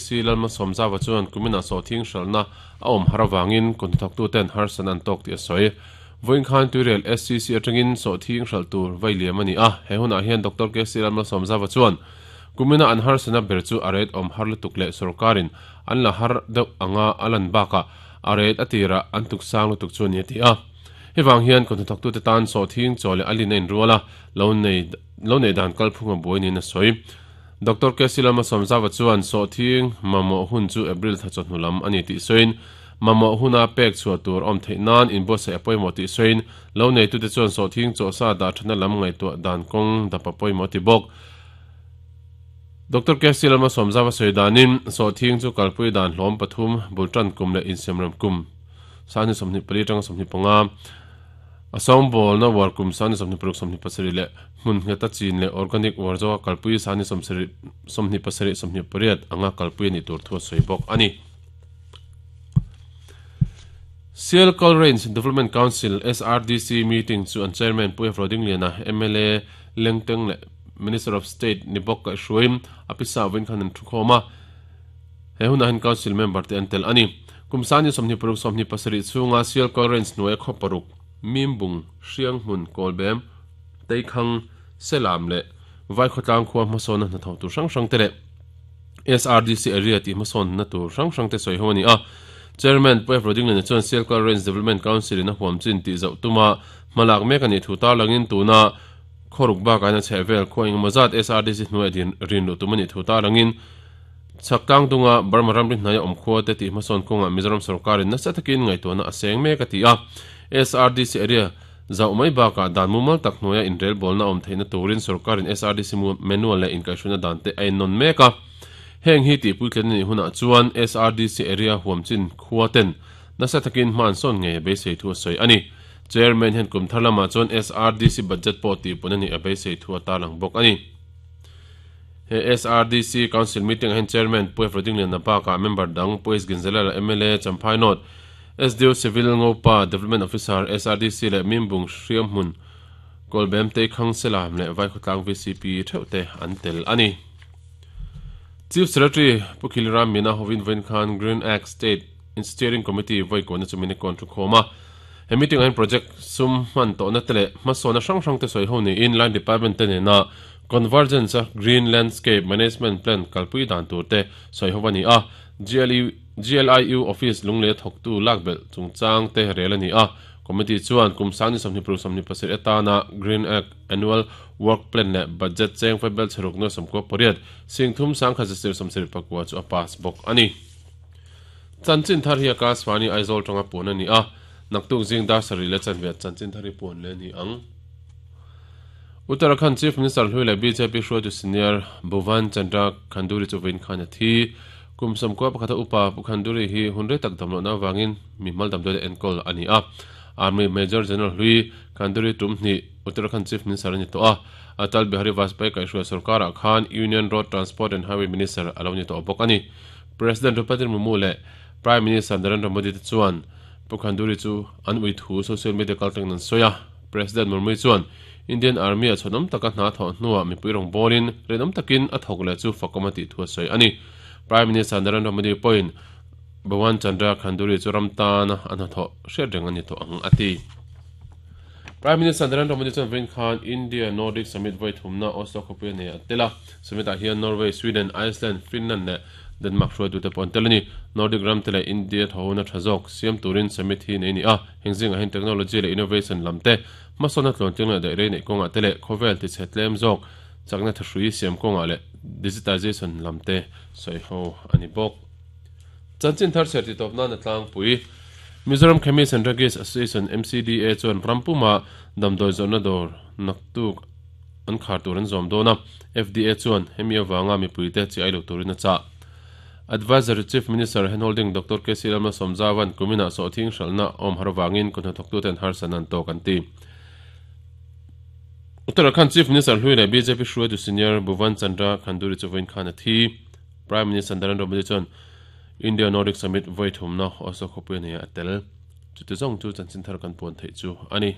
KC Lalmalsawmzava chuan kuminah sawhthing hralhna a awm har avangin kawhnathawktuten harsatna an tawk tih a sawi. Vawiin khan Tuirial SCC atangin sawhthing hralh tur vai liam a ni a, he hunah hian Doctor KC Lalmalsawmzava chuan kumina an harsatna ber chu a rate awm har lutuk leh sorkarin an la har deuh anga a lan bakah a rate a tirah an tuk sang lutuk chu a ni a ti a. Hei vang hian kawhnathawktute tan sawhthing chaw leh a lin a inrual a, lo nei lo neih dan kalphung a buai niin a sawi. Doctor KC Lalmalsawmzava chuan sawhthing mamawh hun chu April thla chawhnu lam a ni tih sawiin, mamawh huna pek chhuah tur awm theih nan inbuatsaih a pawimawh tih sawiin, lo neitute chuan sawhthing chawhsa dah thatna lam ngaihtuah dan kawng dap a pawimawh ti bawk. Doctor KC Lalmalsawmzava sawi danin, sawhthing chu kalpui dan hlawm pathum, bultan kum leh insiamrem kum 24 atanga 25, A sawngbawlna uar kum sani 26 27 leh hmun ngheta chin leh organic uar zawka kalpui sani 27 28 anga kalpui a nih tur thu a sawi bawk a ni. Sialkal Range Development Council, SRDC, meeting chu an chairman Pu F. Rodingliana, mla Lengteng leh Minister of State ni bawk kaihhruaiin a pisa vawiin khan an thukhawm a. He hunah hian Council member te an tel a ni. Kum sani 26 27 chhunga Sialkal Range hnuaia khaw paruk, Mimbung, Hrianghmun, Kawlbem, Teikhang, Selam leh Vaikhawtlang khua hmasawnna hnathawh tur hrang hrang te leh SRDC area tih hmasawnna tur hrang hrang te sawi ho a ni a. Chairman Pu F. Rodingliana chuan Sialkal Range Development Council in a huam chin tih zauh tuma hmalak mek a nih thu tarlangin tuna khawruk bakah hian a chhehvel khua engemaw zat SRDC hnuaia din rin luh tum a nih thu tarlangin Chhak tlang dunga Burma ramri hnaia awm khua te tih hmasawn kawngah Mizoram sorkarin nasa takin ngaihtuahna a seng mek a ti a. SRDC area zauh mai bakah dan mumal tak hnuaia inrelbawlna a awm theihna turin sorkarin SRDC manual leh inkaihhruaina dan te a ennawn mek a. Heng hi tihpuitlen a nih hunah chuan SRDC area huamchin khua ten nasa takin hma an sawn ngei a beisei thu a sawi a ni. Chairman hian kum thar lamah chuan SRDC budget pawh tihpun a nih a beisei thu a tarlang bawk a ni. He SRDC Council meeting ah hian Chairman Pu Efro Dingliana bakah member dang Pu S Ginzalala mla Champhai North, SDO Civil Ngopa Development Officer SRDC leh Mimbung Hriamhmun Kawlbem Teikhang Selam leh Vaikhawtlang vcp theuh te an tel a ni. Chief Secretary Pu Khiliram Meena hovin vawiin khan Green Act State Steering Committee vawi kuahna chu min kawn thu khawm a. He meeting ah hian project sum hman tawhna te leh hmasawnna hrang hrang te sawi ho niin line department te nena Convergence a Green Landscape Management Plan kalpui dan tur te sawi ho a ni a, GLIU Office lunglei a thawktu lak belh chungchang te rel a ni a. Committee chuan kum sangni 26 27 atana Green Act Annual Work Plan leh Budget cheng fai bel chheruk nuai 98 singthum sangkhat zesir 74 chu a pass bawk a ni. Chanchin thar hi a class fani Aizawl tanga puan a ni a, naktuk zing dar sarih leh chanve chanchin thar hi puan leh a ni ang. Uttarakhand Chief Minister hlui leh bjp hruaitu senior Bhuvan Chandra Khanduri chu vawiin khan a thi. Kum 11 a upa Pu Khanduri hi hun rei tak damlohna avangin mi hmal damdawi leh enkawl a ni a. Army Major General hlui Khanduri tum hnih Uttarakhand Chief Minister a ni tawh a. Atal Bihari Vajpayee kaihhruai sorkarah khan Union Road Transport and Highway Minister a lo ni tawh bawk a ni. President Draupadi Murmu leh Prime Minister Narendra Modi te chuan Pu Khanduri chu an ui thu social media kaltlangin an sawi a. President Murmu chuan Indian Army-a chhuanawm taka hna thawh hnuah mipui rawn bawlin rinawm takin a thawk leh chu fakawm a tih thu a sawi a ni. Prime Minister Narendra Modi pawhin Bhawan Chandra Khanduri chu ram tana a hnathawh hriat reng a ni tawh ang a ti. Prime Minister Narendra Modi chuan vawiin khan India Nordic Summit vawi thumna Oslo khawpui a nei a tel a. Summit-ah hian Norway, Sweden, Iceland, Finland leh Denmark hruaitute pawh an tel a ni. Nordic ramte leh India thawhona tha zawk siam turin summit hi nei a ni a. Heng zingah hian technology leh innovation lam te, hmasawnna tluantling leh daih rei neih kawngah te leh khawvel tichhe tlem zawk chakna thahrui siam kawngah leh digitization lam te sawi ho a ni bawk. Chanchin thar chhiar titawp nana tlangpui Mizoram Chemist and Druggist Association, MCDA, chuan ram puma damdawi zawrhna dawr naktuk an khar tur an zawm dawn a, FDA chuan hemi avanga mipuite chi ai lo turin a chah. Advisory Chief Minister Handholding Doctor KC Lalma Sawmzavan kuminah sawhthing hralhna awm har avangin kut hnathawktute an harsatna an tawk an ti. Uttarakhand Chief Minister hlui leh bjp hruaitu senior Bhuvan Chandra Khanduri chu vawiin khan a thi. Prime Minister Narendra Modi chuan India Nordic Summit vawi thumna Oslo khawpui a nei a tel. Chuti zawng chu chanchin thar kan puan theih chu a ni.